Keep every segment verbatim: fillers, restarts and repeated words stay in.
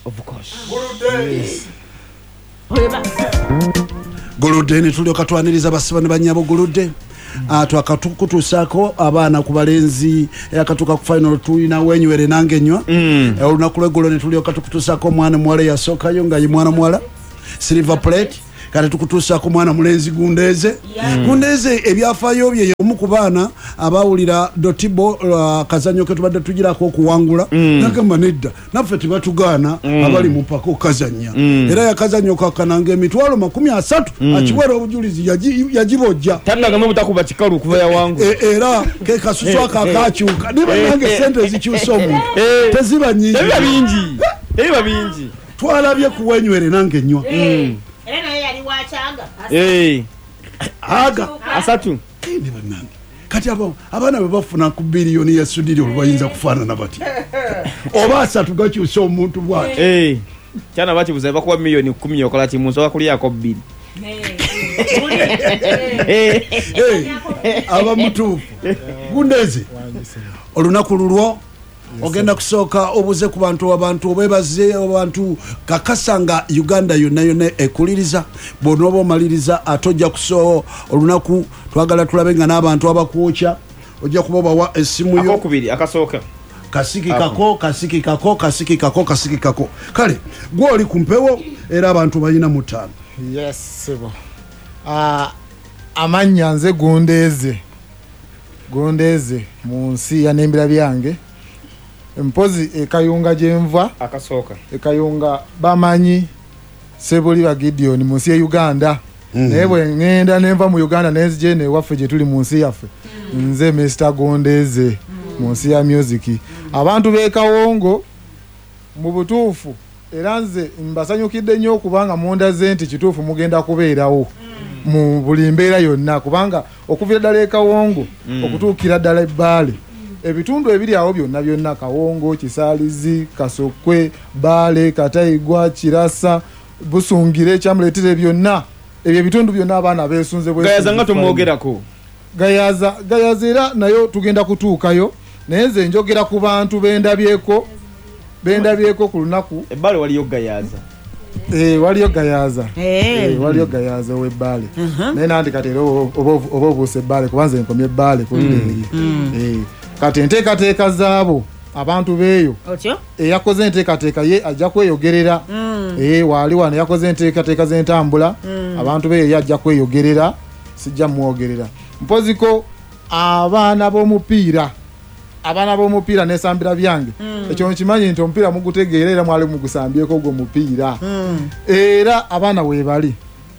Of course. Yes. Guludde ne tulyoka twaniriza basiba ne bannyabo Guludde. Ah, twakatukutuusaako abaana ku balenzi akatuuka ku final tulina wenywere nange nywa. Olunaku lw'eggulo ne tulyoka tukutuusaako omwana muwala eyasookayo nga ye mwana muwala silver plate. Kati tukutuusaako mwana mulenzi Gundeeze. Yeah. Gundeeze ebyafaayo bye y'omu ku baana abawulira Dotibo uh, kazannyo ke tubadde tugirako okuwangula. Mm. Nagamba nedda naffe tebatugaana Mm. abali mu mpaka okukazannya. Mm. Era yakazannyo kakananga emitwalo makumi asatu Mm. akiwera obujulizi yaji- yagibojja. Tanagamba butakuba kikalu kuva yawangu. E, era ke kasusu ako akakyuka. Niba nange sente zikyusa omuntu. Eh. Teziba nnyingi. Tebiba bingi. Tebiba bingi. Twalabye ku wenywere nange nnywa. Mm. Era naye yali wakyanga. Eh. Aga. Asatu. Ndi bannange. Kati abo abaana bwe bafuna ku biliyoni ya sudiri olwo bayinza kufaanana batya? Oba asatu gakyusa omuntu bw'ati. Eh. Kyana bakibuza bakuwa miliyoni kkumi okola ki mu nsobola kulyako bbiri. Eh, aba mutuufu. Gundeeze. Olunaku lulwo ogenda kusooka obuze ku bantu abantu obebaze abantu kakasa nga Uganda yonna yonna ekuliriza. Bw'onooba omaliriza ate ojja kusooka olunaku twagala tulabe nga n'abantu abakwokya ojja kuba obawa essimu yo. Akokubiri akasooka. Kasiki kako, kasiki kako, kasiki kako, kasiki kako. Kale gwe oli ku mpewo era abantu balina mutaano. Yes, sebo. Ah, amannya nze Gundeeze. Gundeeze mu nsi ya n'embira byange. Mpozi ekayunga gye nva akasooka. Ekayunga bamanyi Sebuliba Gideon mu nsi ya Uganda. Mm. Naye bwe ŋŋenda ne nva mu Uganda ne nzija eno ewaffe gye tuli mu nsi yaffe. Nze Mister Gundeeze mu nsi ya music. Abantu b'e Kawongo mu butuufu era nze mbasanyukidde nnyo okubanga mundaze nti kituufu mugenda kubeerawo mu buli mbeera yonna, kubanga okuviira ddala e Kawongo Mm. okutuukira ddala e Bbaale, ebitundu ebiri awo byonna byonna, Kawongo, Kisaalizi, Kasokwe, Bbaale, Kataigwa, Kirasa, Busungire, Kyamuleetire, byonna ebyo ebitundu byonna abaana beesunze bwesunze. Gayaza nga tumwogerako. Gayaza, Gayaza era nayo tugenda kutuukayo, naye nze njogera ku bantu bendabyeko, bendabyeko ku lunaku. Ebbaale waliyo Gayaza. Eh, waliyo Gayaza. Eh. Eh, waliyo Gayaza ow'Ebbaale. Mhm. Naye nandi kati era oba oba oba obuuse Ebbaale kuba nze nkomye Ebbaale ku Mm. eri. Mm. Eh, kati enteekateeka zaabo abantu beeyo Otyo? eyakoze enteekateeka ye ajja kweyogerera. Mm. Eh, waali wano yakoze enteekateeka z'entambula, Mm. abantu beeyo ye ajja kweyogerera, sijja mwogerera. Mpoziko abaana b'omupiira, abaana b'omupiira n'esambira byange. Mm. Ekyo nkimanyi nti omupiira mugutegeera era mwali mugusambyeko ogwo mupiira. Mm. Era abaana weebali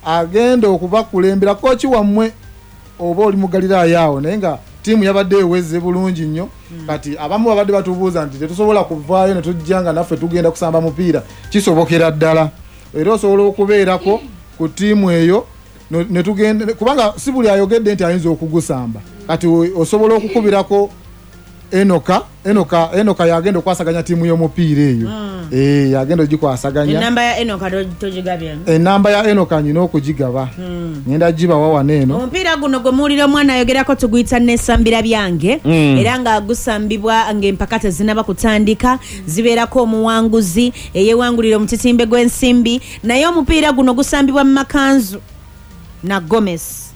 agenda okubakulembera kooki wammwe oba oli mu Galiraaya awo, naye nga ttiimu yabadde eweze bulungi nnyo. Kati abamu babadde batubuuza nti tetusobola kuvaayo ne tujja nga naffe tugenda kusamba mupiira. Kisobokera ddala era osobola okubeerako ku ttiimu eyo no-, ne tugenda, kubanga si buli ayogedde nti ayinza okugusamba. Kati o-, osobola okukubirako Enoka, Enoka, Enoka yagenda okwasaganya ttiimu y'omupiira eyo. Mm. Eh, yagenda ogikwasaganya. Enamba ya Enoka to-, togigabye? Enamba ya Enoka nyina okugigaba. Mm. Ngenda gibawa wano eno. Omupiira guno gwe muwulira omwana ayogerako tuguyita Nesambira Byange. Mm. Era nga gusambibwa ng'empaka tezinnaba kutandika, zibeerako omuwanguzi eyeewangulira omutitimbe gw'ensimbi. Naye omupiira guno gusambibwa mu makanzu na Gomez.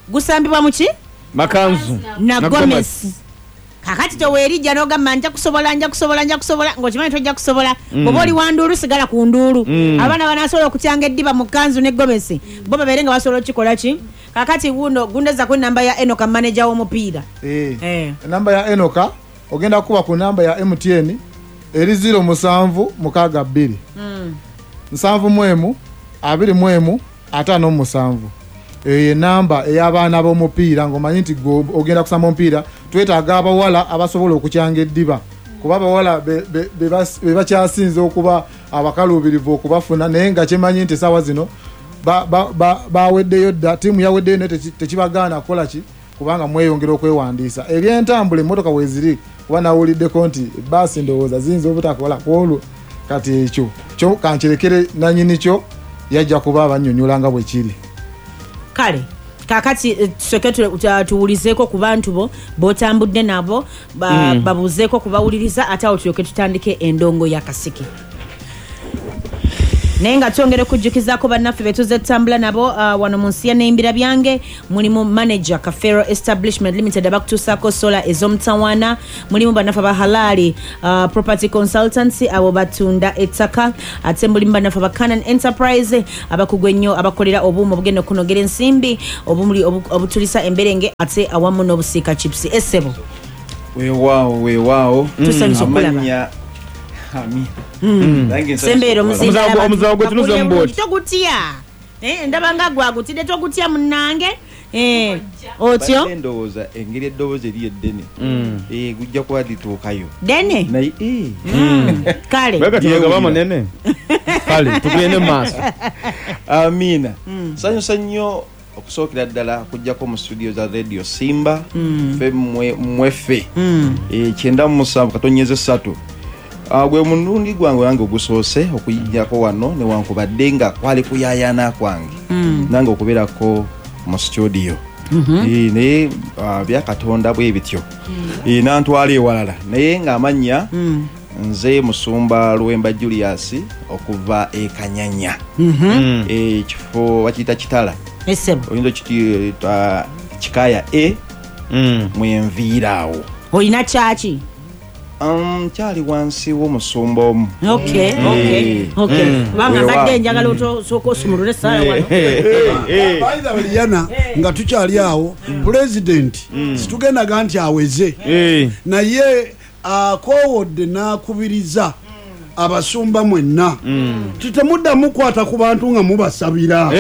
Gusambibwa mu ki? Makanzu na Na Gomez. Gomez. Kakati toweerijja n'ogamba nja kusobola, nja kusobola, nja kusobola, ng'okimanyi tojja kusobola. Mm. Bw'oba oli wa nduulu, sigala ku nduulu. Mm. Abaana banaasobola okutyanga eddiba mu kanzu ne Gomez, bo babeere nga basobola okukikola ki? Kakati wuno gundeza ku namba ya Enoka, manager w'omupiira. Eh. Eh. Enamba ya Enoka ogenda kuba ku namba ya M T N eri zero musanvu mukaaga bbiri. Mm. Nsanvu mu emu, abiri mu emu, ataano mu musanvu. Eyo ye namba ey'abaana b'omupiira ng'omanyi nti gwe ogenda kusamba omupiira, twetaaga abawala abasobola okukyanga eddiba. Kuba abawala be, be, be bas-, be bakyasinze okuba abakaluubirivu okubafuna, naye nga kyemanyi nti essaawa zino ba, ba, ba, baweddeyo dda, ttiimu yaweddeyo naye teki-, tekibagaana kukola ki, kubanga mweyongera okwewandiisa. Ebyentambula emmotoka weeziri, kuba nawuliddeko nti bbaasi ndowooza ziyinza obutakola ku olwo. Kati ekyo kyo kankirekere nannyini kyo, yajja kuba abannyonnyola nga bwe kiri. Kale kakati, eh, tusooke tu-, tu-, tuwulizeeko ku bantu bo b'otambudde nabo, ba-, Mm. babuuzeeko kubawuliriza, ate awo tulyoke tutandike endongo ya kasiki. Naye nga twongera okujjukizaako bannaffe be tuzze tutambula nabo uh, wano mu nsi ya Neimbira Byange, mulimu manager Kafero Establishment Limited abakutuusaako sola ez'omutawaana, mulimu bannaffe aba Halali uh, Property Consultancy abo batunda ettaka, ate mulimu bannaffe aba Canon Enterprise abakugu ennyo abakolera obuuma obugenda okunogera ensimbi, obumuli obutulisa emberenge ate awamu n'obusiika chips. Essebo weewaawo weewaawo, tusanyusa okulaba. Sembeero omuzawo gwe tunuze mu bwoti togutya, ndaba nga gwagutidde togutya munnange. Otyo ndowooza engeri eddoboozi eri eddene gujja kuba lituukayo ddene kale gaba munene kale tugende mu maaso. Amiina. Sanyusa nnyo okusookera ddala okujjako mu studio za Radio Simba ffe mweffe kyenda mu musanvu katonyeze ssatu. Gwe mulundi gwange wange ogusoose okuyijjako wano newankubadde nga kwali kuyaayana kwange nange okubeerako mu studio, naye byakatonda bwe bityo nantwala ewalala, naye ng'amannya nze Musumba Luwemba Julius okuva e Kanyanya, ekifo bakiyita Kitala, oyinza okiyita Kikaya A mwenviira awo. Olina kyaki? Um, kyali wansi w'omusumba omu. Okay, okay, okay. Kubanga mbadde njagala osooka osumulule essaawa wano. By the way, Liana, nga tukyali awo, pulezidenti situgendaga nti aweze, naye akoowodde n'akubiriza abasumba mwenna titemuddamu kukwata ku bantu nga mubasabira.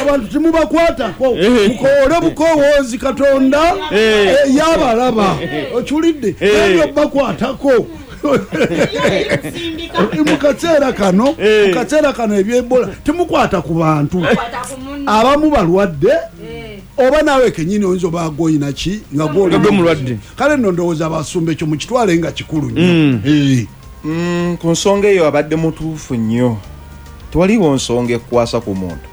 Abantu temubakwatako, mukoole bukowoozi Katonda yabalaba. Okiwulidde? Ebyo bakwatako mu kaseera kano, mu kaseera kano eby'Ebola temukwata ku bantu abamu balwadde, oba naawe kennyini oyinza oba gwoyina ki nga gwoli mulwadde. Kale nno ndowooza abasumba ekyo mukitwale nga kikulu nnyo. Ku nsonga eyo abadde mutuufu nnyo. Tewaliwo nsonga ekukwasa ku muntu,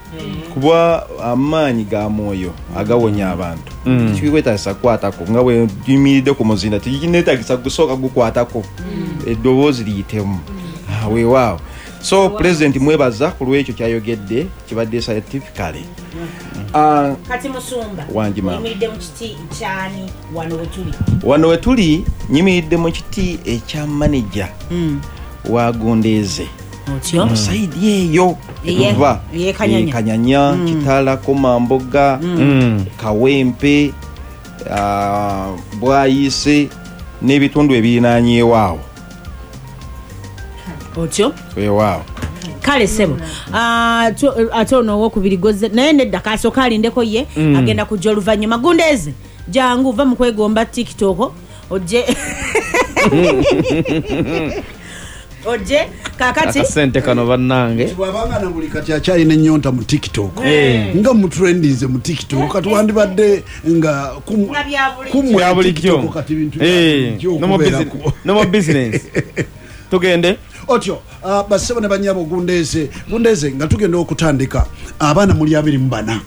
kuba amaanyi ga mwoyo agawonya abantu tekikwetaagisa kukwatako, nga bwe nyimiridde ku muzinda tekineetaagisa gusooka gukwatako, eddoboozi liyitemu. Weewaawo. So pulezidenti mwebaza ku lw'ekyo kyayogedde, kibadde scientifically. Kati Musumba, oyimiridde mu kiti kyani wano wetuli? Wano wetuli nyimiridde mu kiti ekya manager wa Gondeze. Mu sayidi eyo etuva Kanyanya, Kitala, Komamboga, Kawempe, Bwayise n'ebitundu ebirinaanyeewo awo. Otyo? Weewaawo. Kale sebo, ate ono owokubiri goze naye nedda kasooka alindeko ye agenda kujja oluvannyuma. Gundeze jangu va mu kwegomba TikTok ojje ojje kakati akasente kano bannange. Bw'abanga na buli kati akyalina ennyonta mu TikTok nga mutrendinze mu TikTok, kati wandibadde nga kumwe bulijjo kati bintu no more business. Tugende otyo uh, basebo ne banyabo Gundeze Gundeze nga tugenda okutandika abaana muli abiri mu bana.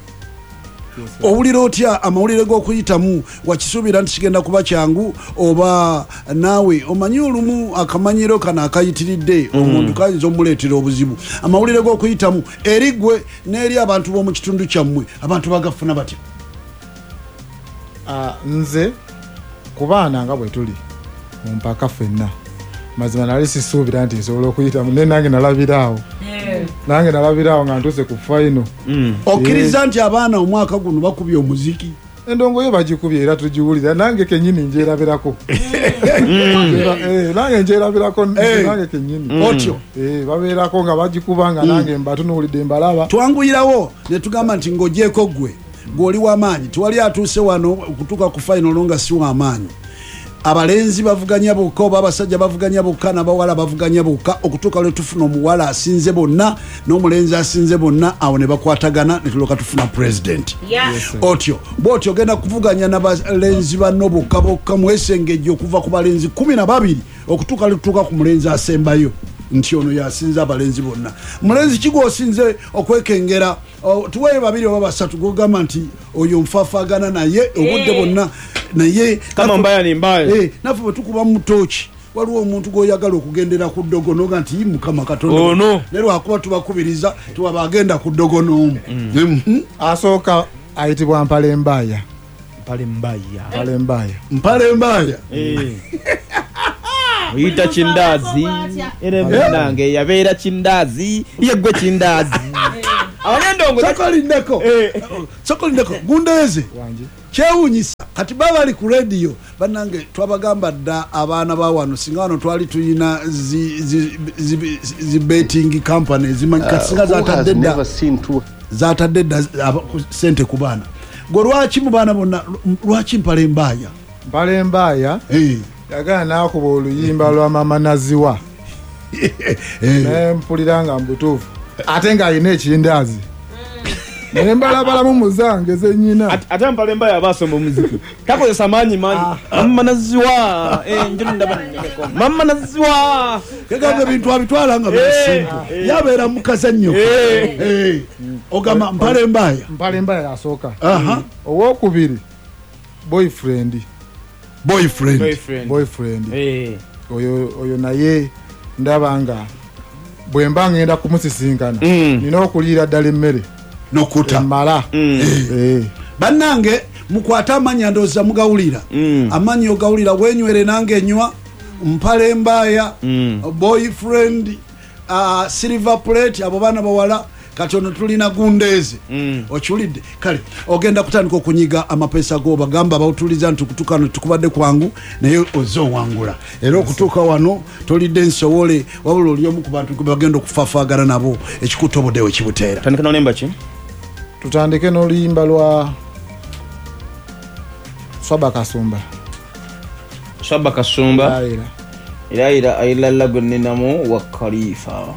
Owulira otya amawulire g'okuyitamu? Wakisuubira nti kigenda kuba kyangu oba naawe omanyi olumu akamanyiro kano akayitiridde omuntu kayinza omuleetera obuzibu? Amawulire g'okuyitamu eri ggwe n'eri abantu b'omu kitundu kyammwe, abantu bagafuna batya? Nze ku baana nga bwe tuli mu mpaka ffenna, mazima nali sisuubira nti nsobola okuyitamu, naye nange nalabiraawo nange nalabiraawo nga ntuuse ku final. Okkiriza nti abaana omwaka guno bakubye omuziki? Endongo yo bagikubye era tugiwulira, nange kennyini njerabirako. Nange njerabirako nange kennyini. Otyo babeerako nga bagikuba nga nange mbatunuulidde mbalaba. Twanguyirawo ne tugamba nti ng'ogyeko ggwe gw'oli w'amaanyi, tewali atuuse wano okutuuka ku final nga si w'amaanyi. Abalenzi bavuganya bokka oba abasajja bavuganya bokka n'abawala bavuganya bokka okutuuka lwe tufuna omuwala asinze bonna n'omulenzi asinze bonna, awo ne bakwatagana ne tulyoka tufuna pulezidenti. Otyo bw'otyo ogenda kuvuganya n'abalenzi banno bokka bokka mwesengejje okuva ku balenzi kumi na babiri okutuuka lwe tutuuka ku mulenzi asembayo nti ono yasinze abalenzi bonna. Mulenzi ki gw'osinze okwekengera? Tuweeyo babiri oba basatu gw'ogamba nti oyo nfafaagana naye obudde bonna, naye kama mbaya ni mbaya, naffe bwe tukuba mu tooki Waliwo omuntu gw'oyagala okugendera ku ddogo noga nti Mukama Katonda ono ne lwakuba tubakubiriza tuwaba agenda ku ddogo n'omu. Mm. Asooka ayitibwa Mpale Mbaya. Mpale Mbaya. Mpale Mbaya. Mpale Mbaya. Eh. Oyita kindazi era munange yabeera kindazi yeggwe kindazi. Abanyendongo sokolindeko. Sokolindeko Gundeze. Kyewuunyisa kati baba ali ku radio bannange twabagamba dda abaana ba wano singa wano twali tuyina zi, zi, zi, zi betting company zimanyi kati singa zatadde dda zatadde dda sente ku baana. Gwe lwaki mu baana bonna lwaki Mpale Mbaya? Mpale Mbaya eh yagala n'akuba oluyimba lwa Mama Naziwa. Naye mpulira nga mbutuufu ate ng'alina ekindaazi. Naye mbalabalamu muzange zennyina. Ate Mpale Mbaya abasoma omuziki takozesa maanyi mangi. Mama Naziwa eh ndaba Mama Naziwa kegamba ebintu abitwala nga bisimple yabeera mukazannyo. Eh ogamba Mpale Mbaya. Mpale Mbaya asooka. Aha. Owokubiri boyfriend. Boyfriend. Boyfriend. Boyfriend. Eh. Oyo oyo naye ndaba nga bwe mba ngenda kumusisinkana mm. nina okuliira ddala emmere nokuta mmala. Mm. Eh. Bannange mukwate amannya ndowooza mugawulira. Mm. Amannya ogawulira wenywere nange nywa. Mpale Mbaya, mm. boyfriend, uh, silver plate abo baana bawala. Kati ono tulina Gundeze. Mm. Okiwulidde kale ogenda kutandika okunyiga amapesa go bagamba bawutuliza nti kutukano tukubadde kwangu naye ozze owangula era okutuuka wano tolidde nsowole wabula oli omu ku bantu bagenda okufafaagana nabo ekikutoboddewo ekibuteera. Tandika n'olemba ki? Tutandike n'oluyimba lwa Swaba Kasumba. Swaba Kasumba. Era Ira ira ailala gwe nninamu wa Khalifa.